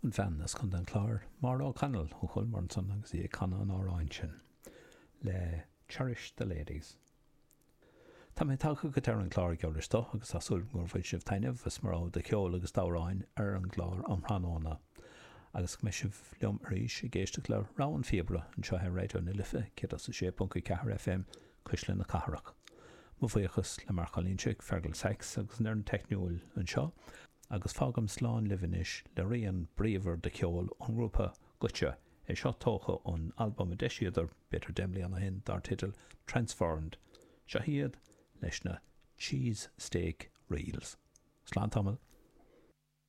An bhean as Contae an Chláir, Máire O'Connell ó Choill Mhuire ansan agus í ag canadh an amhráin sin le Cherish the Ladies. Tá mé tagtha go deireadh an chláir geall leis do agus tá súil agam gur bhain sibh taitneamh as mo rogha de cheol agus d'amhráin ar an gclár um thráthnóna agus go mbeidh sibh liom arís ag éisteacht le Rogha an Phíobaire anseo ar Raidió na Life 106.4 FM, Cuisle na Cathrach. Mo bhuíochas le Marc Ó Loingsigh, Fergal Sachs agus an fhoireann teicniúil anseo agus fágaim slán libh anois le rian bríomhar de cheol ón ngrúpa Goitse, é seo tógtha ón albam a d'eisíodar b'fhéidir 10 mbliana ó shin dar teideal Transformed. Seo iad leis na Cheese Steak Reels. Slán tamall.